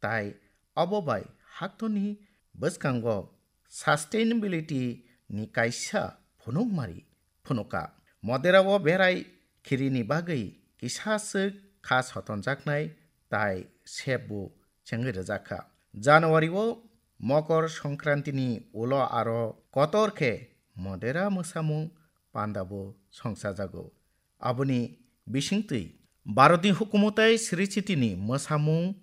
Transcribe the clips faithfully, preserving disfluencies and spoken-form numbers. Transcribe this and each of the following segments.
tai obo bai haktorni bwskango sustainability ni kaisa phunukmari phunuka. Modera o berai khirini bagwi kisa swk kha sotonjaknai tai sep bo chengwi rwjakha. January o Mokor Songkranti ni ulo aro kotor khe Modera mwsamung panda bo songchajago. Aboni bisingtwi Bharatni hukumu tei sricitini mwsamung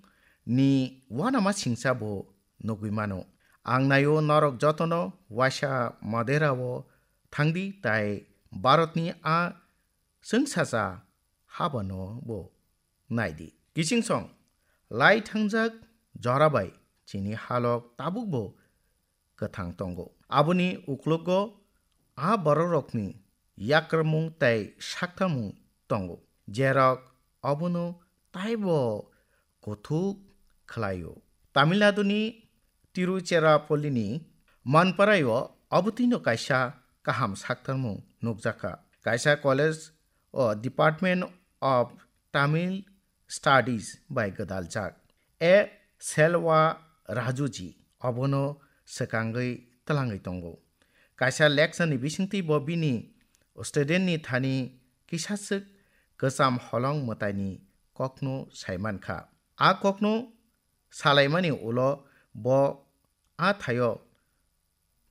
ni uanama singcha bo nugwi mano. Ang naio norok jotono waisa Modera o thangdi tai Bharatni a chwngsacha habano bo naidi. Kichingsong lai thangjak jora bai chini halok tabuk bo kwthang tongo. Aboni uklogo a bororokni yakrwmung tei saktamung tongo, jerok obono taibo kuthuk khlaio. Tamil Naduni Tiruchirappallini Manparaio obotwino kaisa kaham saktarmung nukjakha. Kaisa college o Department of Tamil Studies bai gwdaljak. A Selva Rajuji obono swkangwi twlangwi tongo. Kaisa lecture ni bisingtwi bo bini student ni thani kisaswk kwcham holong mwtaini kokno saimankha. A kokno salaimani ulo bo a thaio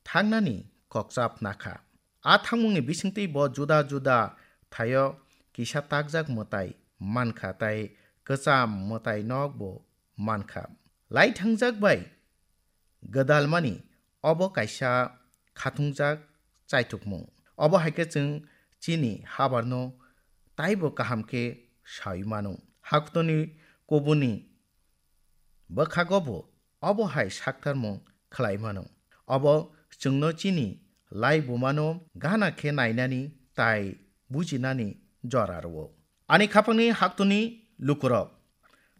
thangnani kokchap nakha. A thangmungni bisingtwi bo juda juda thaio kisa takjak mwtai mankha tai kwcham mwtai nok bo mankha. Lai thangjak bai gwdalmani obo kaisa khatungjak chaithokmung. Obo hai khe chwng chini habarno taibo kaham khe saui mano. Haktorni kubuni bwkhago bo obo hai saktarmung khlai mano. Obo chwngno chini lai bumano gana khe nainani tai bujinani jora rwo. Ani khapangni haktorni lukurok,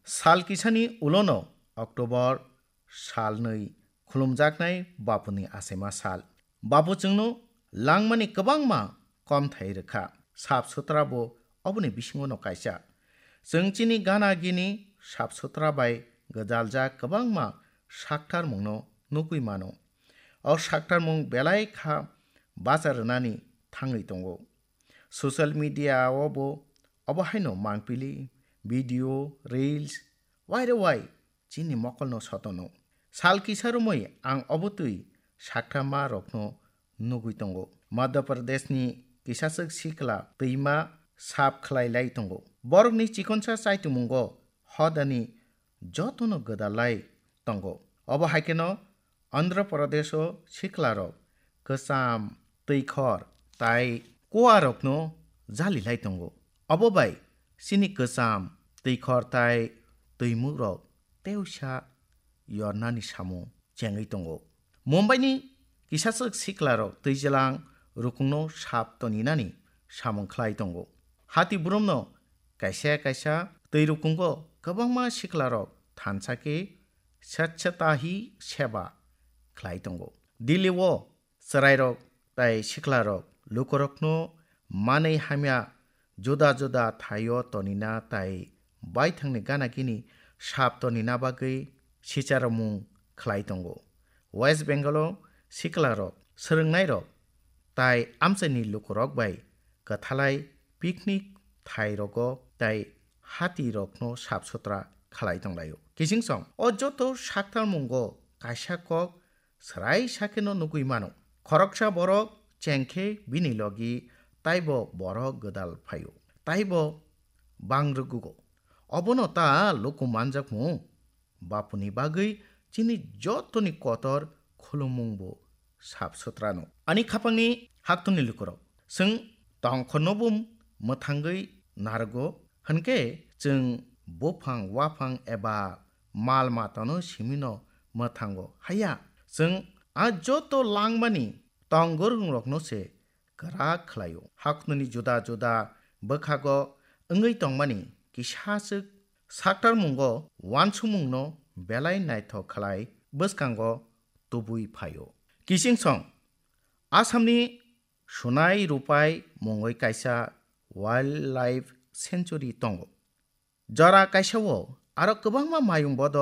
sal kisani ulono October salnwi khulumjaknai Bapuni achaima sal. Bapu chwngno langmani kwbangma komthai rwkha. Sap sutra bo oboni bisingono kaisa. Chwng chini gana gini sap sutra bai gwdaljak kwbangma saktarmungno nugwi mano. O saktarmung belai kha bacha rwnani thangwi tongo. Social media o bo obo haino mangpili, video, reels, waire wai chini mokolno sotono. Sal kisa romwi ang obotwi sakthama rokno nugwi tongo. Madhya Pradeshni kisaswk sikla twima sap khlai lai tongo. Borokni chikonsa chaitungmungo hodani jotono gwdalai tongo. Obo hai kheno Andhra Pradesho siklarok kwcham, twikhor tai kuarokno jalilai tongo. Obo bai chini kwcham, twikhor tai twimukrok teusa yornani samung chengwi tongo. Mumbaini kisaswk siklarok twijlang rukungno sap toninani samung khlai tongo. Hati brumno kaisa kaisa twi rukungo kwbangma siklarok thansa khe Swachhata Hi Seva khlai tongo. Delhi o chwrairok tai siklarok lukurokno manwi hamya juda juda thaio tonina tai baithangni gana gini sap tonina bagwi sicharomung khlai tongo. West Bengal o siklarok, swrwngnairok tai amchaini lukurok bai kwthalai picnic thairogo tai hatirokno sap sutra khlai tonglaio. Kichingsong o joto saktarmungo kaisa kok swrai sakheno nugwi mano. Khoroksa borok chengkhe bini logi taibo borok gwdal phaio. Taibo bang rwgugo. Obono ta luku manjakmung. Bapuni bagwi chini jotoni kotor khulumung bo sap sutrano. Ani khapangni haktorni lukurok, chwng tongkhorno bo mwthangwi narwgo, hwnkhe chwng buphang waphang eba mal matano simino mwthango. Haya, chwng a joto langmani tongorungrokno se kwrak khlaio. Haktorni juda juda bwkhago wngwi tongmani kisaswk saktarmungo uansukmungno belai naithok khlai bwskango tubui phaio. Kichingsong Assamni Sunai Rupai mungwi kaisa wildlife sanctuary tongo. Jora kaisao aro kwbangma mayung bodol